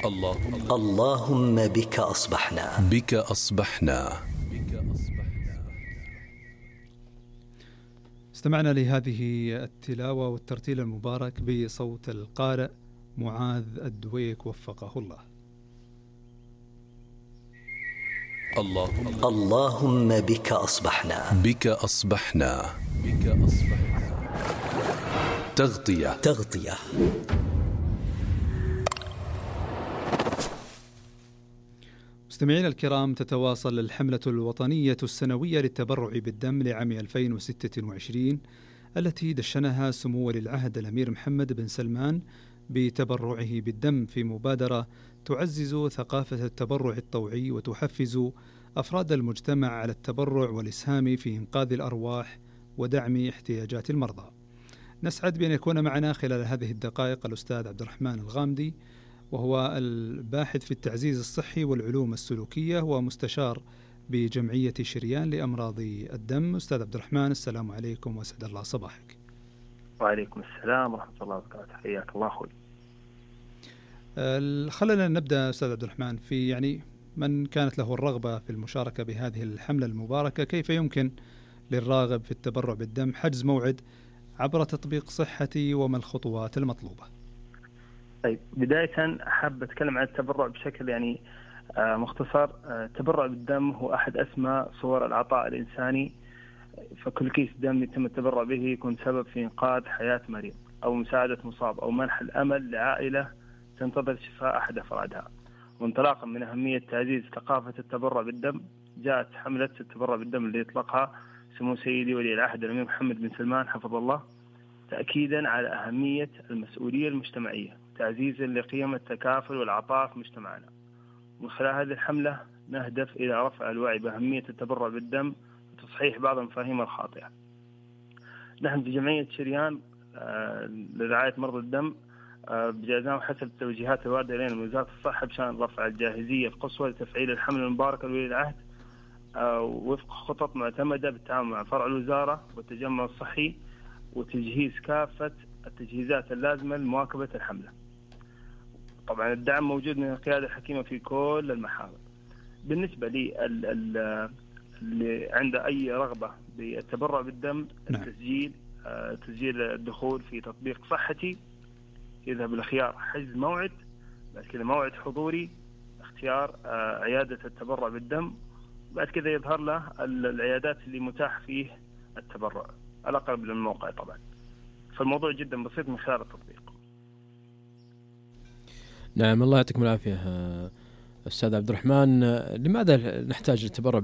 اللهم بك أصبحنا. بك أصبحنا. استمعنا لهذه التلاوة والترتيل المبارك بصوت القارئ معاذ الدويك وفقه الله. اللهم بك أصبحنا. بك أصبحنا. تغطية. مستمعينا الكرام، تتواصل الحملة الوطنية السنوية للتبرع بالدم لعام 2026 التي دشنها سمو ولي العهد الأمير محمد بن سلمان بتبرعه بالدم في مبادرة تعزز ثقافة التبرع الطوعي وتحفز أفراد المجتمع على التبرع والإسهام في إنقاذ الأرواح ودعم احتياجات المرضى. نسعد بأن يكون معنا خلال هذه الدقائق الأستاذ عبد الرحمن الغامدي، وهو الباحث في التعزيز الصحي والعلوم السلوكية ومستشار بجمعية شريان لأمراض الدم. أستاذ عبد الرحمن، السلام عليكم وسعد الله صباحك. وعليكم السلام ورحمة الله وبركاته، حياك الله أخوي. خلينا نبدأ أستاذ عبد الرحمن في من كانت له الرغبة في المشاركة بهذه الحملة المباركة، كيف يمكن للراغب في التبرع بالدم حجز موعد عبر تطبيق صحتي وما الخطوات المطلوبة؟ طيب، بداية أحب أتكلم عن التبرع بشكل مختصر. التبرع بالدم هو أحد أسمى صور العطاء الإنساني، فكل كيس دم يتم التبرع به يكون سبب في إنقاذ حياة مريض أو مساعدة مصاب أو منح الأمل لعائلة تنتظر شفاء أحد أفرادها. وانطلاقا من أهمية تعزيز ثقافة التبرع بالدم، جاءت حملة التبرع بالدم اللي يطلقها سمو سيدي ولي العهد الأمير محمد بن سلمان حفظه الله، تأكيدا على أهمية المسؤولية المجتمعية، تعزيزا لقيم التكافل والعطاء في مجتمعنا. من خلال هذه الحملة نهدف إلى رفع الوعي بأهمية التبرع بالدم وتصحيح بعض المفاهيم الخاطئة. نحن في جمعية شريان لرعاية مرضى الدم بجازام حسب التوجيهات الواردة إلينا من وزارة الصحة بشأن رفع الجاهزية القصوى لتفعيل الحملة المباركة لولي العهد وفق خطط معتمدة بالتعاون مع فرع الوزارة والتجمع الصحي، وتجهيز كافة التجهيزات اللازمة لمواكبة الحملة. طبعا الدعم موجود من القيادة الحكيمة في كل المحاور. بالنسبة لي اللي عنده أي رغبة بالتبرع بالدم، تسجيل الدخول في تطبيق صحتي، يذهب الخيار حجز موعد، بعد كذا موعد حضوري، اختيار عيادة التبرع بالدم، بعد كذا يظهر له العيادات اللي متاح فيه التبرع الأقرب للموقع طبعا. فالموضوع جدا بسيط من خلال التطبيق. نعم، الله يعطيكم العافية أستاذ عبد الرحمن. لماذا نحتاج التبرع